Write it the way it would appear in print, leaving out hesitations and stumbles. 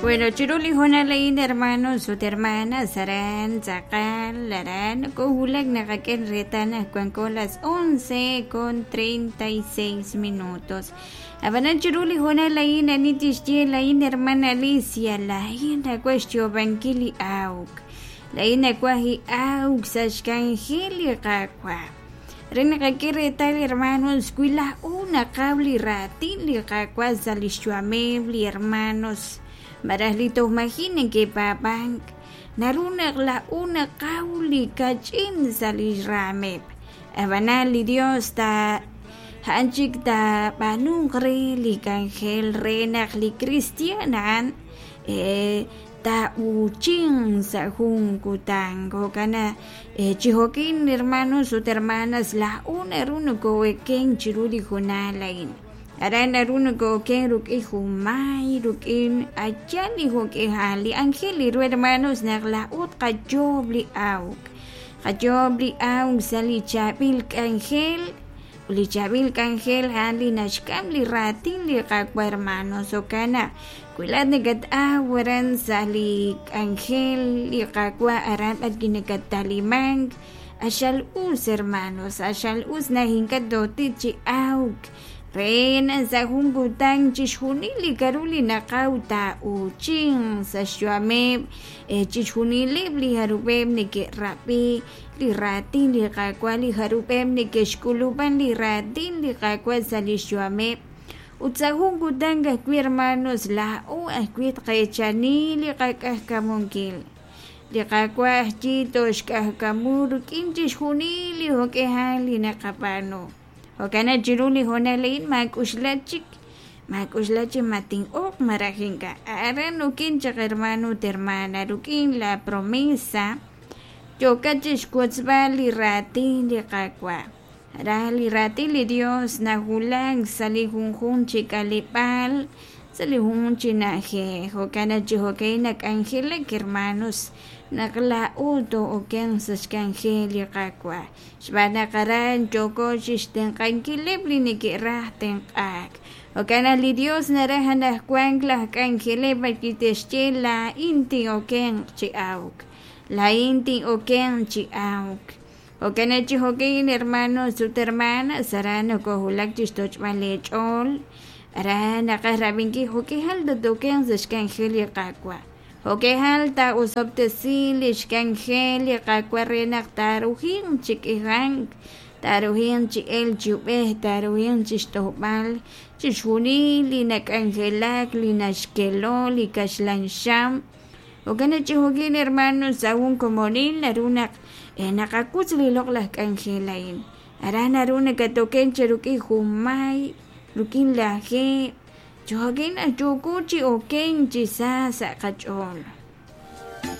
Bueno, chiru li hoonal a'in hermanos ut hermanas aran tz'aqal aran nokowulak naqak'e reetal naq wanko las 11:36 minutos. Ab'anan chiru li hoonal a'in ani tixye laa'in hermana Alicia laa'in nawaj xyoob'ankil li awk. Laa'in nawaj li awk sa' xk'anjel li Qaawa'. Re naqak'e reetal hermanos wi laa'o naqaw li raatin li Qaawa' sa' li xyu'ameb' li hermanos malaj li toj maji' neke'paab'ank naru naq laa'o naqaw li kach'in sa' li raameb'. Ab'anan li Dios ta a'an chik taab'aanunq re li k'anjel re naq li kristiaan a'an taa'uuchinq sa' jun kutan. Jo'kan chi jo'kin hermanos ut hermanas laa'o naru noko'oken chiru li hoonal a'in. Aran naru noko'oken rik'in jun may, rik'in ayal li jo'k'ihal li anjel li ru hermanos naq laa'o tqayoob' li awk. Qayoob' li awk sa' li chaab'il k'anjel li chaab'il k'anjel a'an li naxk'am li raatin li Qaawa' hermanos. Jo'kan naq wi laa'at nakat-aw aran sa' li k'anjel li Qaawa' aran b'arwi' nakattalimank q'axal us hermanos, q'axal us naq ink'a' tootik chi awk re naq sa' jun kutan chixjunil li k'aru li naqaw taa'uuchinq sa' xyu'ameb' chixjunileb' li jarub'eb' neke'rab'i li raatin li Qaawa' li jarub'eb' neke'xk'ulub'an li raatin li Qaawa' sa' li xyu'ameb'. Ut sa' jun kutan ajwi' hermanos laa'o ajwi' tqeechani li qak'ajkamunkil. Li Qaawa' ajyi tooxk'ajkamu rik'in chixjunil li jo'k'ihal li naqab'aanu. Jo'kan naq chiru li hoonal a'in maak'uxla chik, maak'uxla chi ma tin'oq malaj ink'a'. Aran okin chaq hermano ut hermana rik'in la promesa yookat chixwotzb'al li raatin li Qaawa'. Aran li raatin li Dios nawulak sa' li junjunq chi k'aleb'aal, sa' li junjunq chi na'ajej. Jo'kan naq chi jo'ka'in nak'anjelak hermanos naq laa'o too'okenq sa' xk'anjel li Qaawa'. Xb'aan naq aran yooko chixtenq'ankileb' li neke'raj tenq'aak. Jo'kan naq li Dios naraj anaqwan laj k'anjeleb' b'arwi' te'xye laa'in tin'okenq chi awk, laa'in tin'okenq chi awk. Jo'kan naq chi jo'kin hermanos ut hermanas aran nokowulak chixtoch'b'al leech'ool, aran naqaj rab'inkil jo'k'ihal tatokenq sa' xk'anjel li Qaawa'. Jo'k'ihal taa'osob'tesi li xk'anjel li Qaawa' re naq taaruhinq chi k'ihank, taaruhinq chi elk chi ub'ej, taaruhinq chixtojb'al chixjunil li nak'anjelak, li naxkelo, li kaxlan xam. Jo'kan naq chi jo'kin hermanos sa' jun komonil naru naq naqawutz li loq'laj k'anjel a'in. Aran naru nakatoken chi rik'in jun may, rik'in lajeeb', chi jo'kin naq yooko chi okenk chi sa sa' qach'ool.